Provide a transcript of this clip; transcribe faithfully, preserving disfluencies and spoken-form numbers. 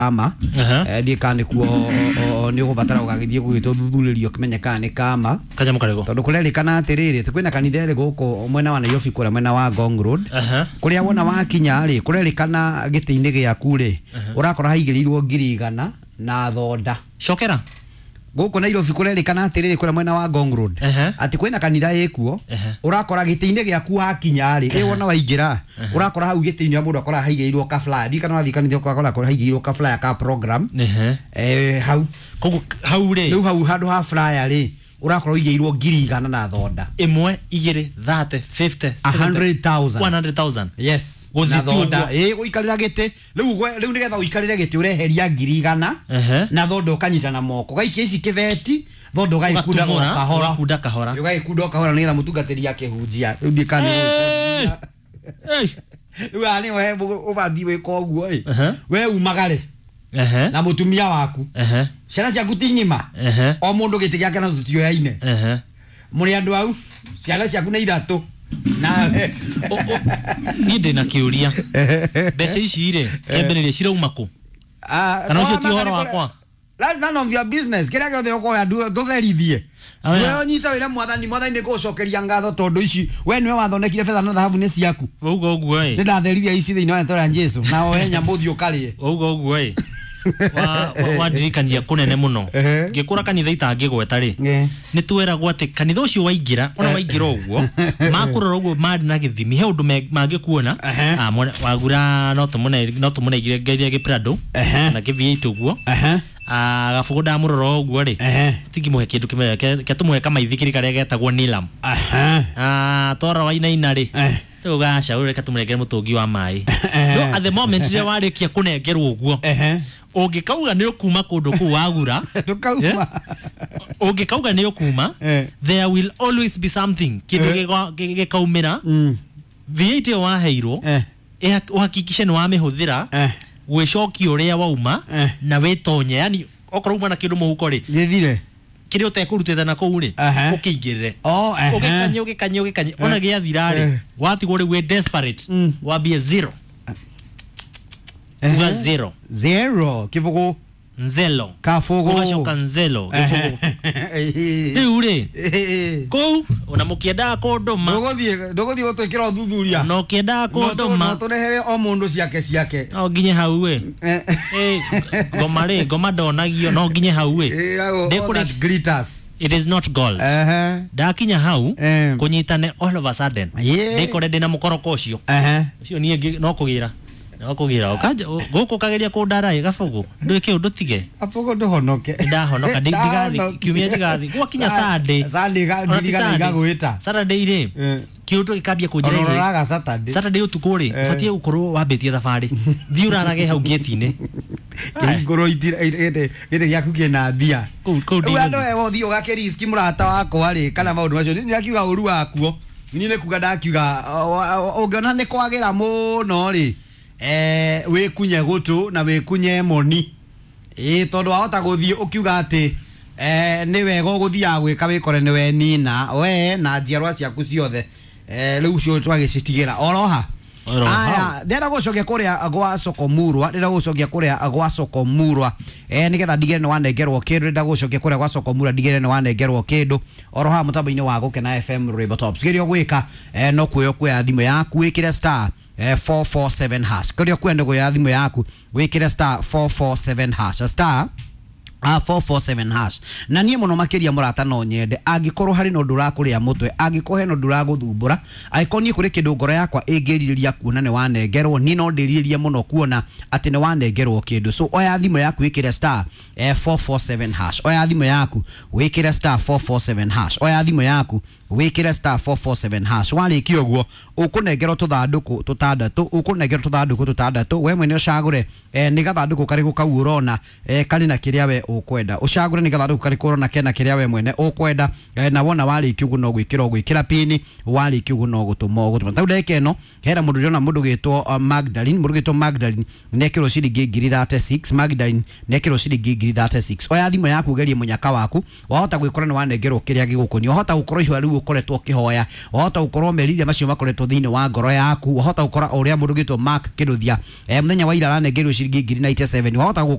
Kama Aha. eh, ndiä kana nä kuo nä å gå batara å gagä thiä gå gä two thuthurä rio kä menye kana nä kama Kanyamũ karĩkũ? tondå kå rerĩkana atä rä rä kwä na kanitha ä rä gå kå mwena wa Nairobi kå rä a mwena wa Ngong Road Aha. kå rä a wona wakinya rä kå rerĩkana gä tä-inä gä aku rä å rakora haigä rä irwo ngiri igana na thonda Cokera. gå kå Nairobi kå rerĩkana atä rä rä kå rä a mwena wa Ngong Road Ehe. atä kwä na kanitha ä kuo Ehe. ũrakora gĩtĩ-inĩ gĩaku wakinya rĩ ĩ wona waingĩra ũrakora hau gĩtĩ-inĩ mũndũ akora haigĩirwo ka flyer ndikana wathiĩ kanitha ũgakora haigĩirwo ka flyer ka program Ehe. eh, hau Koguo hau rĩ rĩu hau handũ ha flyer rĩ ũrakorwo ũigĩirwo ngiri igana na thonda ĩmwe igĩrĩ thate fifty A hundred thousand. one hundred thousand. Yes, Gũthiĩ na tu thonda ũguo. ĩ gũikarĩra gĩtĩ rĩu gwe- rĩu nĩgetha ũikarĩre gĩtĩ ũreheria ngiri igana Ehe. na thonda ũkanyita na moko gaikia ici kĩbeti thonda ũgagĩkunda o Ũgatumũra, kahora ũgakunda kahora. ũgagĩkunda o kahora nĩgetha mũtungatĩri akĩhunjia rĩu ndiĩ kana nĩ Hey! Hey! rĩu haha nĩho ũbathiĩ wĩka ũguo ĩ Ehe. we umagare Ehe. na mũtumia waku Ehe. ciana ciaku ti ng'ima Ehe. o mũndũ gĩtĩ gĩake na tũtioyaine Ehe. mũrĩ andũ au ciana ciaku nĩ ithatũ nawe O- o- Niĩ ndĩ na kĩũria mbeca ici rĩ kĩambĩrĩria cirauma kũ Ah, Kana ũcio kwa- ti ũhoro kũrĩa- wakwa? That's none of your business. Kĩrĩa gĩothe ũkoya ndu- ndũtherithie. Aya. We ũnyite wĩra mwathani, mwathani nĩ ngũgũcokeria ngatho tondũ ici we nĩwe wathondekire betha na thahabu nĩ ciaku. wauga ũguo Nĩ ĩ ndatherithia ici thĩinĩ wa rĩtwa rĩa Jesũ na oe nyamũ ũthiĩ ũkarĩe. wauga ũguo ĩ Wa- wa- wandirikania kũnene mũno Ehe. ngĩkũra kanitha itangĩgweta rĩ Eh. nĩ tweragwo atĩ kanitha ũcio waingĩra ona waingĩra ũguo makũrora ũguo marĩ na gĩthimi he ũndũ me- mangĩkuona Ehe. Ah, mwene- wagura no tũmũne- no tũmũnengire ngeithia gĩprado Ehe. na kĩ V eight ũguo Ehe. Ah, gabũgũ ndamũrora ũguo rĩ Ehe. tingĩmũhe kĩndũ kĩmwe ke- ke tũmũhe kamaithikiri karĩa getagwo nilam Ehe. Ah, twara wainaina rĩ Eh. rĩu gaca ũyũ reke tũmũnengere mũtũngi wa maĩ Eh. no at the moment rĩrĩa warĩkia kũnengerwo ũguo Ehe. ũngĩkauga nĩ ũkuma kũndũ kũu wagura Ndũkauma. ũngĩkauga nĩ ũkuma Eh. there will always be something kĩndũ Eh. gĩgwa- gĩ- gĩkaumĩra Mm. V eight ĩyo waheirwo Eh. ĩha- ũhakikishe nĩ wamĩhũthĩra Eh. gwĩcokia ũrĩa wauma Eh. na wĩtonye yani okorwo uma na kĩndũ mũhuko rĩ Gĩthire. kĩrĩa ũtekũrutĩte na kũu rĩ Ehe. ũkĩingĩrĩre Oh, ehe. ũgĩkanye ũgĩkanye ũgĩkanye ona gĩathira rĩ Eh. watigwo rĩu wĩ desperate Mm. wambie zero Ehe. uga zero Zero. Kĩbũgũ. nzelo Kabũgũ. ũgacoka nzelo gĩbũgũ Ehe. rĩu rĩ Ehe. kũu ona mũkĩendaga kũndũma Ndũgũthiĩ ndũgũthiĩ gũtwĩkĩra ũthuthuria. ona ũkĩendaga kũndũma No tũrehere o mũndũ ciake ciake. no nginye hau ĩ Eh. Ĩ, ngoma rĩ ngoma ndonagio no nginye hau ĩ Ĩragwo all Ndĩkũrĩ- that glitters. it is not gold Ehe. ndakinya hau Eh. kũnyitane all of a sudden Yeah. ndĩkore ndĩna mũkoroko ũcio Ehe. ũcio niĩ ngĩ- no kũgĩra no kũgĩra Ũkanja- ũ- gũkũ ũkageria kũndara ĩ gabũgũ ndwĩke ũndũ tige Abũgũ ndũhonoke. ndahonoka ndi- ndigathi Ndahonoke. kiumia ndigathi gwakinya Sa- Sunday Sunday ga- Ona ti ngiri igana Sunday. igagwĩta. Saturday rĩ Eh. kĩũndũ gĩkambia kũnjĩra Ona ithe ũroraga Saturday. Saturday ũtukũ rĩ Eh. ũbatiĩ gũkorwo wambĩtie thabarĩ thiĩ ũrarage hau gate-inĩ Kĩhingũrwo itira- gĩtĩ gĩtĩ gĩaku kĩna mbia. Kũu- kũu Rĩu andũ ndinathiĩ. aya ũthiĩ ũgakĩriski mũrata wakwa rĩ kana maũndũ macio niĩ ndakiuga ũru wakuo niĩ nĩ kuga ndakiuga o- o- ũngĩona nĩ kwagĩra mũno rĩ eh, wĩkunye gũtũ na wĩkunye moni ĩ tondũ wahota gũthiĩ ũkiuga atĩ eh, nĩ wega ũgũthiaga gwĩka wĩkore nĩ wenina we na njiarwa ciaku ciothe eh, rĩu ũcio twagĩcitigĩra oroha Oroha. Aya, ndĩrenda gũcokia kũrĩa gwa Sokomurwa ndĩrenda gũcokia kũrĩa gwa Sokomurwa eh nĩgetha ndigĩre nĩ wanengerwo kĩndũ ndĩrenda gũcokia kũrĩa gwa Sokomurwa ndigĩre nĩ wanengerwo kĩndũ oro haha mũtambo-inĩ wa Gũkena F M Rainbow Tops kĩrĩa ũgwĩka eh, no kuoya kuoya thimũ yaku wĩkĩre star eh, four four seven hash kĩrĩa ũkwenda kuoya thimũ yaku wĩkĩre star four four seven hash star a four four seven hash na niĩ mũno makĩria mũrata no nyende angĩkorwo harĩ na ũndũ ũrakũrĩa mũtwe angĩkorwo hena ũndũ ũragũthumbũra angĩkorwo niĩ kũrĩ kĩndũ ngoro yakwa ĩngĩrirĩria kuona nĩ wanengerwo niĩ no ndĩrirĩrie mũno kuona atĩ nĩ wanengerwo kĩndũ so oya thimũ yaku wĩkĩre star eh, four four seven hash oya thimũ yaku wĩkĩre star four four seven hash oya thimũ yaku wĩkĩre star four four seven hash warĩkia ũguo ũkũnengerwo tũthandũkũ tũtandatũ ũkũnengerwo tũthandũkũ tũtandatũ we mwene ũcagũre eh, nĩ gathandũkũ karĩkũ kau ũrona eh, karĩ na kĩrĩa we ũkwenda ũcagũre nĩ gathandũkũ karĩkũ ũrona kena kĩrĩa we mwene ũkwenda eh, na wona warĩkia ũguo no gwĩkĩra ũgwĩkĩra pini warĩkia ũguo no gũtũma ũgũtũma tau ndagĩka ĩno hena mũndũ ndĩrona mũndũ gĩtwo uh, Magdalene mũndũ gĩtwo Magdalene nĩekĩrwo ciringi ngiri thirty six Magdalene nĩekĩrwo ciringi ngiri thirty six oya thimũ yaku ũgerie mũnyaka waku wahota gwĩkora nĩ wanengerwo kĩrĩa gĩgũkũnia wahota gũkorwo ihũa rĩu ũkoretwo ũkĩhoya, wahota gũkorwo meriria macio makoretwo thĩinĩ wa ngoro yaku, wahota gũkora ũrĩa mũndũ ũgĩtwo Mark Kĩnuthia eh, mũthenya wa ira aranengerirwo ciringi ngiri ninety-seven, wahota